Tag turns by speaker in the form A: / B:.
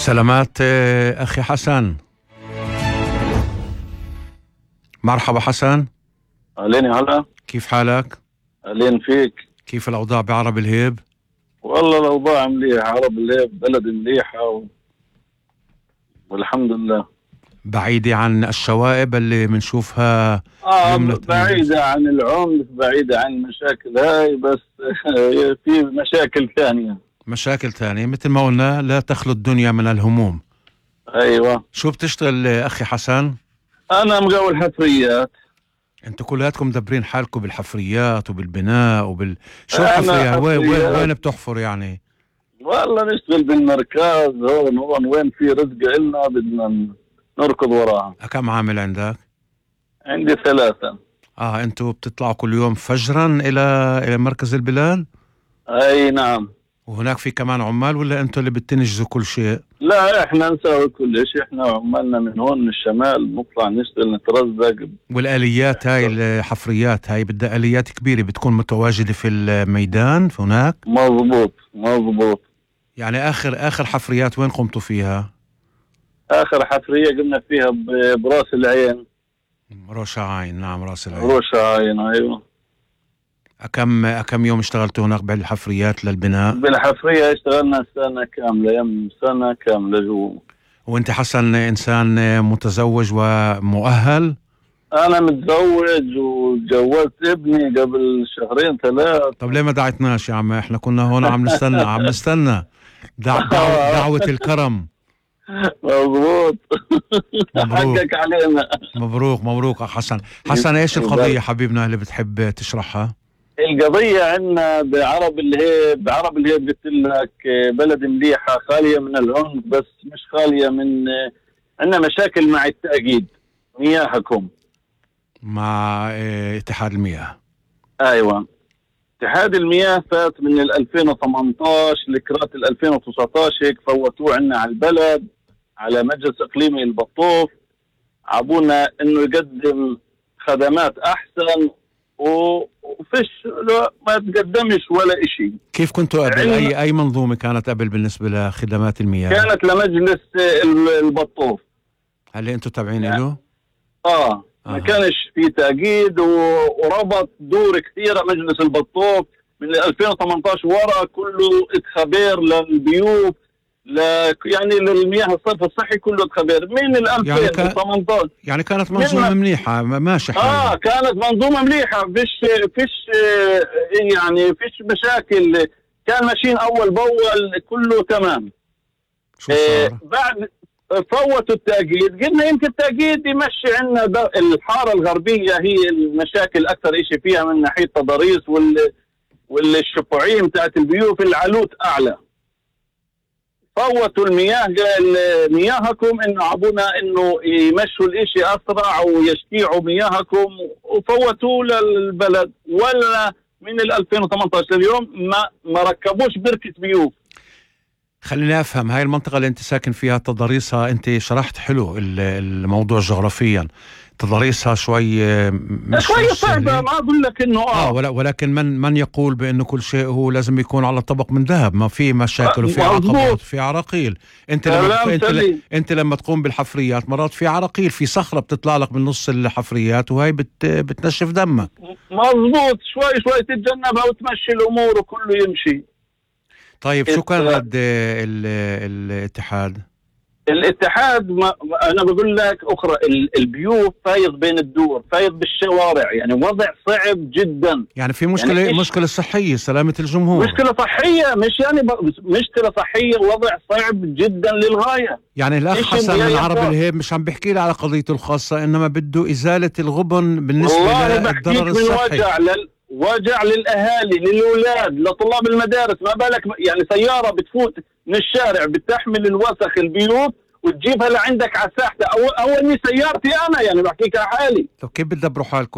A: سلامات أخي حسن. مرحبا حسن.
B: أهلين هلا.
A: كيف حالك؟
B: أهلين فيك.
A: كيف الأوضاع بعرب الهيب؟
B: والله الأوضاع مليحة، عرب الهيب بلد مليحة والحمد لله.
A: بعيدة عن الشوائب اللي منشوفها
B: بعيدة عن العنف، بعيدة عن المشاكل هاي، بس في مشاكل ثانية.
A: مشاكل ثانية مثل ما قلنا، لا تخلو الدنيا من الهموم.
B: أيوة.
A: شو بتشتغل أخي حسن؟
B: أنا مقاول حفريات.
A: انتوا كلياتكم مدبرين حالكم بالحفريات وبالبناء شو الحفريات؟ وين بتحفر يعني؟
B: والله نشتغل بالمركز هون وين في رزق إلنا بدنا نركض وراها.
A: كم عامل عندك؟
B: عندي 3.
A: انتوا بتطلعوا كل يوم فجرا إلى مركز البلاد؟
B: أي نعم.
A: وهناك في كمان عمال ولا انتوا اللي بتنجزوا كل شيء؟
B: لا احنا نسوي كل شيء، احنا عمالنا من هون من الشمال نطلع نشتغل نترزق.
A: والآليات هاي الحفريات هاي بدها آليات كبيرة بتكون متواجدة في الميدان هناك؟
B: مظبوط.
A: يعني آخر حفريات وين قمتوا فيها؟
B: آخر حفرية قمنا فيها براس العين.
A: راس العين، نعم راس العين.
B: راس العين أيوة.
A: كم يوم اشتغلتوا هناك بالحفريات للبناء؟
B: بالحفرية اشتغلنا سنة كاملة جوا.
A: وانت حسن انسان متزوج ومؤهل؟
B: انا متزوج وتجوزت ابني قبل 2-3.
A: طب ليه ما دعيتناش يا عم؟ احنا كنا هون عم نستنى دعوة الكرم.
B: مظبوط. حقك علينا.
A: مبروك حسن ايش القضية حبيبنا اللي بتحب تشرحها؟
B: القضية عندنا بعرب الهيب قلت لك بلد مليحة خالية من العنف، بس مش خالية من عندنا مشاكل مع التأكيد مياهكم
A: مع اتحاد المياه.
B: ايوه، اتحاد المياه فات من 2018 لكرات 2019 هيك فوتوه عنا على البلد، على مجلس اقليمي البطوف، عبونا انه يقدم خدمات احسن وفيش ما تقدمش ولا اشي.
A: كيف كنتوا قبل؟ اي منظومة كانت قبل بالنسبة لخدمات المياه؟
B: كانت لمجلس البطوف.
A: هل انتوا تابعين له؟
B: ما كانش في تأكيد وربط دور كثيرة مجلس البطوف من 2018 ورا، كله اتخبير للبيوت يعني للمياه الصرف الصحي كله اتخبير من 2018.
A: يعني كانت منظومة منيحة ماشي حالها.
B: كانت منظومة مليحة، فيش يعني فيش مشاكل، كان ماشيين أول بأول كله تمام.
A: شو صار؟
B: بعد فوتوا التأكيد، قلنا يمكن التأكيد يمشي عنا الحارة الغربية هي المشاكل أكثر إشي فيها من ناحية تضاريس والشفعية بتاعت البيوت العلوت أعلى. فوتوا المياه، قال مياهكم إنه عبونا إنه يمشوا الإشي أسرع ويشتيعوا مياهكم، وفوتوا للبلد. ولا من 2018 لليوم ما ركبوش بركة بيوت.
A: خليني أفهم، هاي المنطقة اللي أنت ساكن فيها تضاريسها، أنت شرحت حلو الموضوع جغرافيا، تضاريسها شوي
B: صعبة، ما أقول لك إنه
A: ولكن من يقول بأنه كل شيء هو لازم يكون على طبق من ذهب؟ ما في مشاكل وفي عقبات وفي عراقيل. أنت لما تقوم بالحفريات مرات في عراقيل، في صخرة بتطلع لك من نص الحفريات وهي بتنشف دمك.
B: مظبوط، شوي تتجنبها وتمشي الأمور وكله يمشي.
A: طيب شو كان رد الاتحاد؟
B: أنا بقول لك أخرى، البيوت فايض بين الدور، فايض بالشوارع، يعني وضع صعب جدا.
A: يعني في مشكلة، يعني مشكلة صحية، سلامة الجمهور،
B: مشكلة صحية، مش يعني مشكلة صحية، وضع صعب جدا للغاية.
A: يعني الأخ حسن من عرب الهيب مش عم بحكي لي على قضيته الخاصة، إنما بده إزالة الغبن بالنسبة للضرر الصحي.
B: وجع للأهالي، للأولاد، لطلاب المدارس. ما بالك يعني سيارة بتفوت من الشارع بتحمل الوسخ البيوت وتجيبها لعندك على الساحة. أول من سيارتي أنا، يعني بحكيك على حالي.
A: طب كيف بتدبروا حالكم؟